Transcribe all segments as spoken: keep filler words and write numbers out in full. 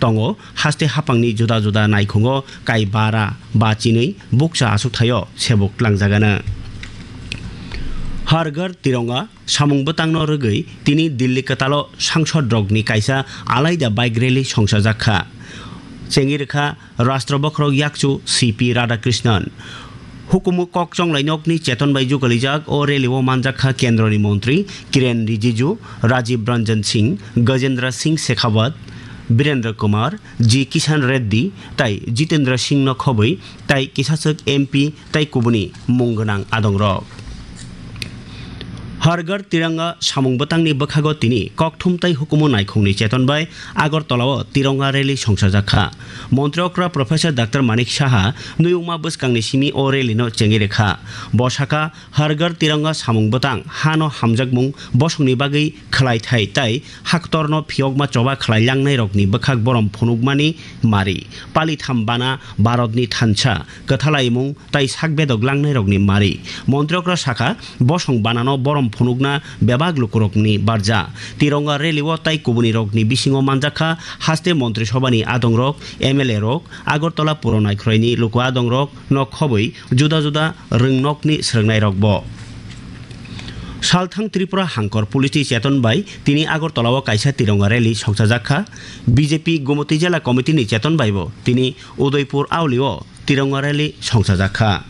tongo, haste haphangni juda juda naikhungo kai bara ba chinwi bukcha aswkthaio sebuk tlangjagano. Har Ghar Tironga samung bwtangno rwgwi tini Delhi kwtalo sangsod rokni kaisa alaida bike rally songchajak kha. Chengwi rwkha Rashtra Bokhorok Yakchu C P Radhakrishnan. Hukumu kok chonglai nokni cheton bai jugalijak o rally o manjak kha kendroni montri Kiren Rijiju, Rajiv Ranjan Singh, Gajendra Singh Shekhawat, Birendra Kumar, G Kishan Reddy tai Jitendra Singh no khobwi tai kisachwk M P tai kubuni mung gwnang adongrok. Har Ghar Tiranga samung bwtangni bwkhago tini kokthum tai hukumu naikhungni cheton bai Agartala o Tiranga rally songchajak kha. Montri okra Professor Doctor Manik Saha nuyungma bwskangni simi o rally no chengwi rwkha. Bo sakha, Har Ghar Tiranga samung bwtang hano hamjakmung bosongni bagwi khwlai thai tai haktorno phiyokma choba khwlai langnai rokni bwkhak borom phunukmani mari. Palitham bana Bharatni thansa kwthalaimung tai sak bedok langnairokni mari. Montri okra sakha, bosong banano borom phunukna bebak lukurokni barja. Tironga rally o tai kubunirokni bisingo manjakha haste Montri Sobhani adongrok, M L A rok, Agartala puro naikhwraini luku adongrok no khobwi juda juda rwngnokni swrwngnairokbo. Salthang Tripura Hangkor Police ni cheton bai tini Agartala o kaisa Tironga rally songchajak kha. B J P Gumoti Jela Committee ni cheton bai bo tini Udaipur Auli o Tironga rally songchajak kha.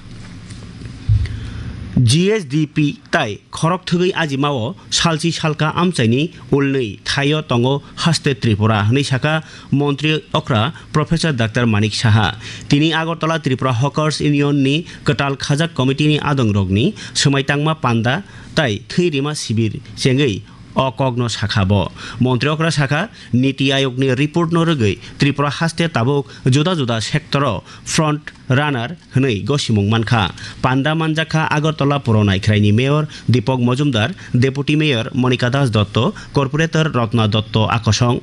G S D P tai khorok thwgwi ajimao salchi salka amchaini ulnwi thaio tongo haste Tripura, hwnwi sakha Montri okra Professor Doctor Manik Saha. Tini Agartala Tripura Hawkers Union ni kwtal khajak committee ni adongrokni swmai tangma panda tai thwi rima sibir chengwi o kokno sakha bo. Montri okra sakha, Niti Ayogni report no rwgwi Tripura haste tabuk juda juda sector o front runner hwnwi gosimung mankha. Panda manjakha Agartala puro naikhwraini Mayor Deepak Majumdar, Deputy Mayor Monika Das Dotto, Corporator Ratna Dotto akosong.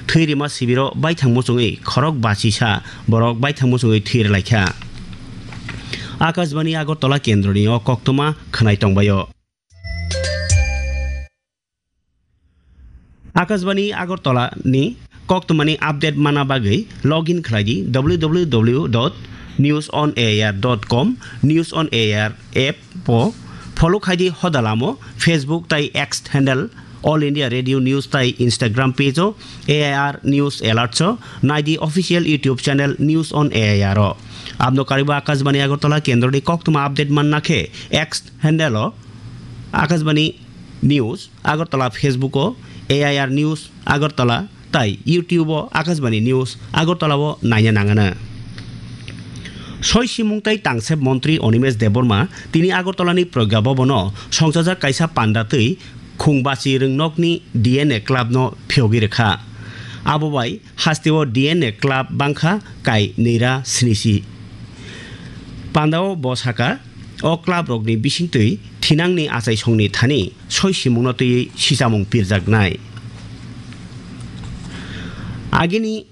Thwi rima sibiro baithang muchungwi khorok bachisa borok baithang muchungwi thwi rwlaikha. Akashbani Agartala kendroni o koktwma khwnai tongbaio. Akashbani Agartala ni koktwmani update mana bagwi login khlai di W W W dot news on A I R dot com, News on A I R app o follow khai di hoda lamo Facebook tai X handle All India Radio News tai Instagram page o A I R News Alerts o nai di official YouTube channel News on A I R o. Abno kariba Akashbani Agartala kendroni koktwma update manna khe X handle o Akashbani News Agartala, Facebook o A I R News Agartala tai YouTube o Akashbani News Agartala o naina nangana. Soi simung tai tangsep montri Animesh Debbarma tini Agartala ni Pragya Bhavan o songchajak kaisa panda twi khung bachi rwngnokni D N A club no phiyogwi rwkha. Abo bai hasteo D N A club bangkha kai nwi ra snisi. Pandao bo saka, o club rokni bisingtwi thinangni achaisongni thani soi simungno twiwi sichamung pirjaknai. Agini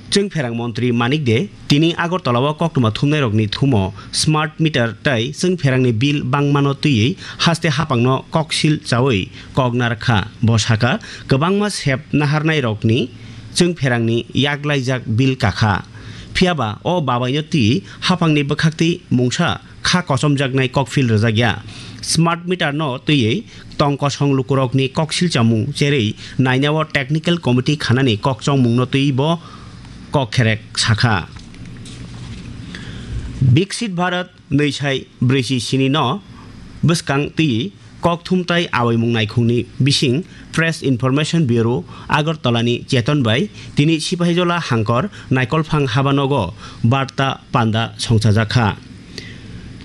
chwngpherang montri Manik De tini Agartala o koktwma thumnairokni thumo smart meter tai chwngpherangni bill bangmano twiwi haste haphangno koksil chaui koknar kha. Bo saka, kwbangma sep naharnairokni chwngpherangni yaklaijak bill kakha. Phiyaba o babaino twi haphangni bwkhaktwi mungsa kha kochomjaknai kokphil rwjakya. Smart meter no twiwi tong kosong lukurokni koksil chamung cherwi nainao technical committee khanani kokchongmungno twiwi bo kokkherek sakha. Viksit Bharat nwi sai brwi si sini no bwskang twi kokthum tai awaimung naikhungni bising Press Information Bureau Agartala ni cheton bai tini Sipahijola hangkor Naikolphang habanogo barta panda songchajak kha.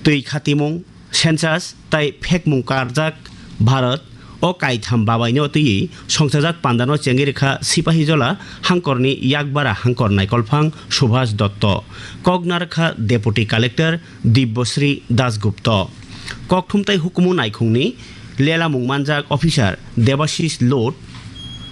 Twi khatimung, census tai phekmung karjak Bharat o kaitham babaino twiwi songchajak pandano chengwi rwkha Sipahijola hangkorni yakbara hangkor Naikolphang Subhas Dotto, koknar kha Deputy Collector Dibyasri Dasgupta. Kokthum tai hukumu naikhungni lelamung manjak officer Debashish Lod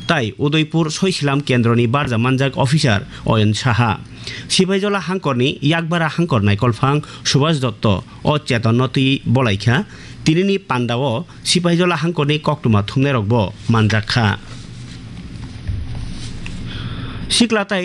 tai Udaipur Soisilam kendroni barja manjak officer Oyon Saha. Sipahijola hangkorni yakbara hangkor Naikolphang Subhas Dotto o chetonno twi bolaikha. Tinini pandao Sipahijola hangkorni koktwma thumnairokbo manjak kha. Sikla tai